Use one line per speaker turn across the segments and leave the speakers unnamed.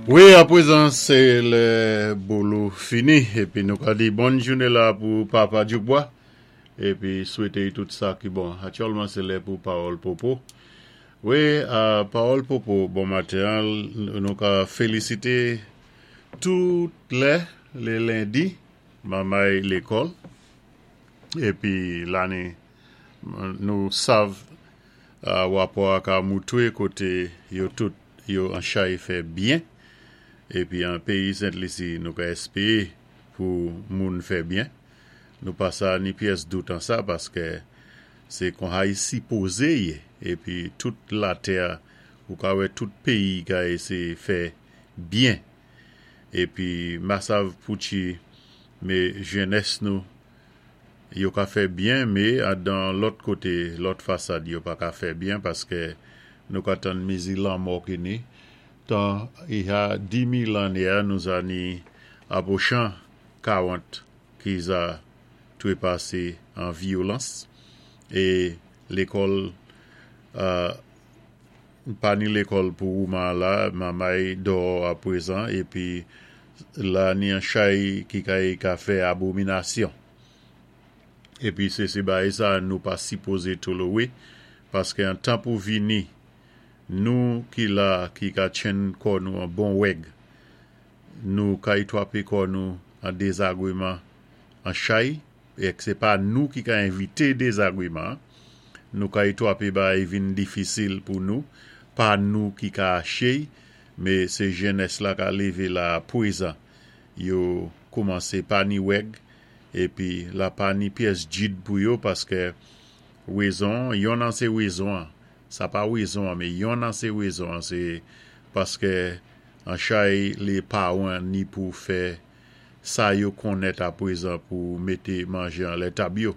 Wi, apwézan sé lè Bolo fini épi nou ka di bòn jouné la pou Papa Dyoukbwa épi swété-y tout sa ki bon. Aktyèlman sé lè pou Pawòl Popo. Wi, Pawòl Popo bon maten an nou ka félisité tout lè lé lendi manmay lékòl épi lane nou sav Rapò a ka moutre kote yo tout yo an chay fè byen, epi an peyi Sent Lisi nou ka espere pou moun fè byen. Nou pa sa ni pyès dout an sa paske se konha y sipoze ye epi tout latè ou ka wè tout peyi ka eseye fè byen. Epi masav pouchi me jenès nou Yo ka fè byen me dan lòt kote lòt fasad yo pa ka fè byen paske nou ka tann mizi lanmò ki ni tan iha 10,000 lane a nou za ni apwochan 40 ki za trepase an vyolans e lekòl pa ni lekòl pou wouman la mamay dòò apwezan epi la ni an chay ki kay ka fè abominasyon. Epi se se bagay sa nou pa sipoze tolowe paske an tan pou vini nou ki la ki ka tchenn kò nou an bon wèg nou kay twape kò nou an dezagreman an chay ek se pa nou ki ka envite dezagreman nou kay twape bagay vin difisil pou nou pa nou ki ka achey me se jenès la ka leve la pwezan yo koumanse pa ni wèg epi la pa ni pyès djid pou yo paske wezon yonn an se wezon an sa pa wezon an me yonn an se wezon an se paske an chay le paran ni pou fè sa yo konnèt apwezan pou mete manje anlè tab yo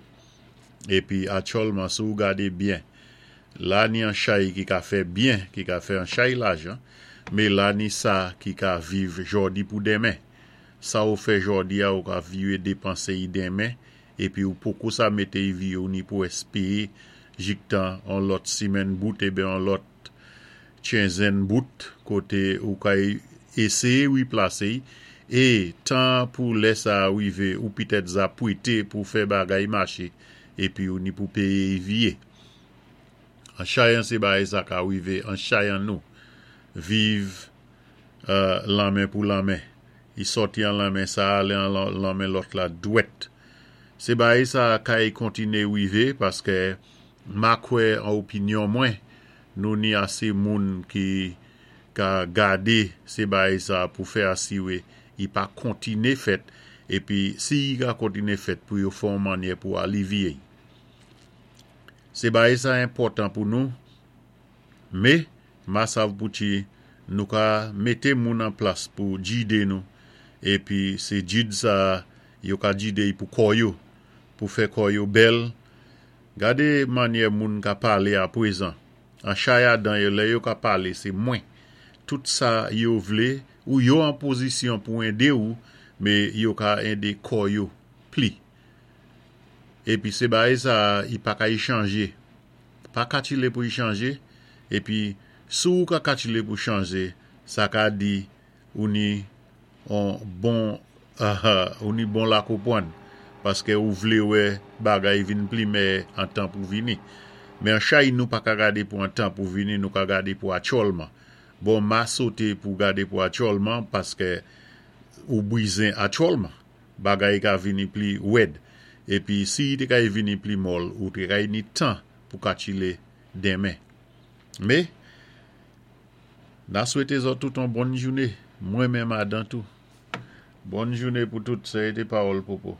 epi atyòlman si w gade byen La ni an chay ki ka fè byen, ki ka fè an chay lajan, mé la ni sa ki ka viv jòdi pou denmen. Sa ou fè jòdi a ou ka viwé depanse y denmen, épi ou poko sa mete y vi ou ni pou èspéé jiktan on lòt simenn bout eben on lòt tchenzenn bout koté ou ka éséyé wiplase y, é tan pou lè sa a wivé ou pitèt za pwété pou fè bagay maché épi ou ni pou péyé y viyé. An chayan se bagay sa ka rive an chayan nou viv lanmen pou lanmen i sòti an lanmen sa ale an lanmen lòt la dwèt se bagay sa kay kontine rive paske ma kwè an opinyon mwen nou ni ase moun ki ka gade se bagay sa pou fè asire i pa kontine fèt epi si i ka kontine fèt pou yo fè yon mannyè pou alivye i. Se bagay sa enpòtan pou nou, me masav pouti nou ka mete moun an plas pou jide nou, epi se jid sa yo ka jide y pou kò yo, pou fè kò yo bèl, gade manyè moun ka pale apwezan, an chayadan yo lè yo ka pale se mwen, tout sa yo vle ou yo an pozisyon pou ende ou, me yo ka ende kò yo pli. Epi se bagay sa a i pa ka i chanje. Pa katile pou i chanje, epi si ou ka katile pou chanje, sa ka di ou ni on bon ou ni bon lakopwann, paske ou vle wè bagay vin pli mèyè an tan pou vini. Men an chay nou pa ka gade pou an tan pou vini, nou ka gade pou atyòlman. Bon ma sote pou gade pou atyòlman paske ou brizen atyòlman. Bagay ka vini pli wèd. Epi si i te kay vini pli mòl ou te kay ni tan pou katchile denmen. Me, na swete zòt tout on bòn joune, mwen menm adan tou. Bòn joune pou tout, sè te pawòl Popo.